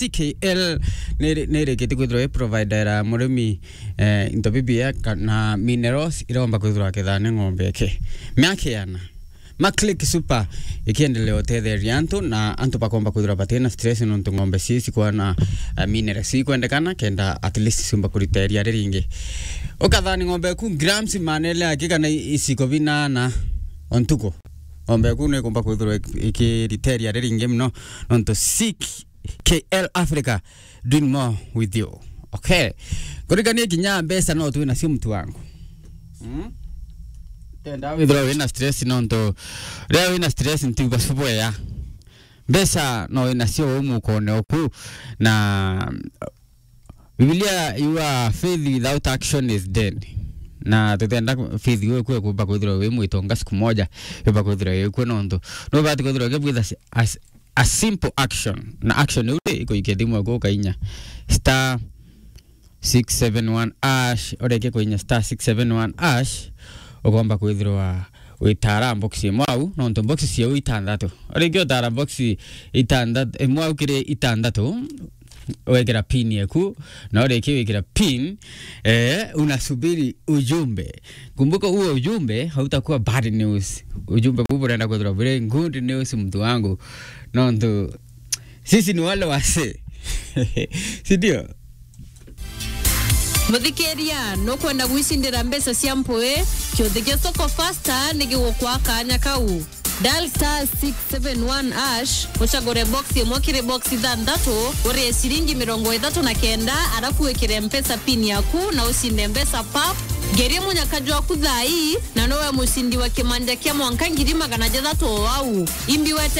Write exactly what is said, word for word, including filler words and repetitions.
C K L ni, nirikitie kwithirwa i providera murimi, eh, into bibia kana minerals iromba kwithirwa akethana ng'ombe eke. Miaka iana. Ma Click Super ikiendelea utetheria antu, na antu bakomba kwithirwa batina stress nontu ng'ombe cie cikwana, eh, minerals ikwendekana kenda at least ciumba kurita iria riringi. Ukathani ng'ombe ku grams manele aki kana i-, iciko binana o ntuku. Ng'ombe ku nikumba kwithirwa ik-, ikirita iria riringi muno nontu C K L Africa, doing more with you. Okay. Kurikania kinya mbeca no twi nacio, mtu wangu. Mm? Tenda withirwa wina stress nontu riria wina stress ntiuga cubwea. Mbeca no wina cio u mukone oku, na Biblia yuga, "Faith without action is dead." Na tutenda faith iu ikue kumba kwithirwa wi mwitonga siku moja, yumba kwithirwa ikue nontu. No bati kwithirwa ke with a, a, a simple action. Na action iu ri, ikuikia thimu yaku ukainya star six seven one hash, ureke kuinya star six seven one hash, ukomba kwithirwa witara box imwe au, nontu box ciau itandatu. Ureke utara box itandatu, imwe au kiri itandatu, wekira pin yaku, na ureke wikira pin, eh, unasubiri ujumbe. Kumbuka, huo ujumbe hautakuwa bad news. Ujumbe huu unaenda kwithirwa very good news, mtu wangu. Nontu sisi ni wale wasee. Si ndio? Muthikiria, nukwenda gwicindira mbeca cia mpui? Kiuthi kia Soko Faster ni gigukwa kanya kau. Dial star six seven one hash, ucagure box imwe kiri box ithanthatu, urie ciringi mirongo ithatu na kenda, arafu wikire Mpesa pin yaku na ucinde mbeca pap. Ngerie munyaka jwaku thaa ii, na nowe mucindi wa kimanja kia mwanka ngiri magana jathatu o au. Imbi wete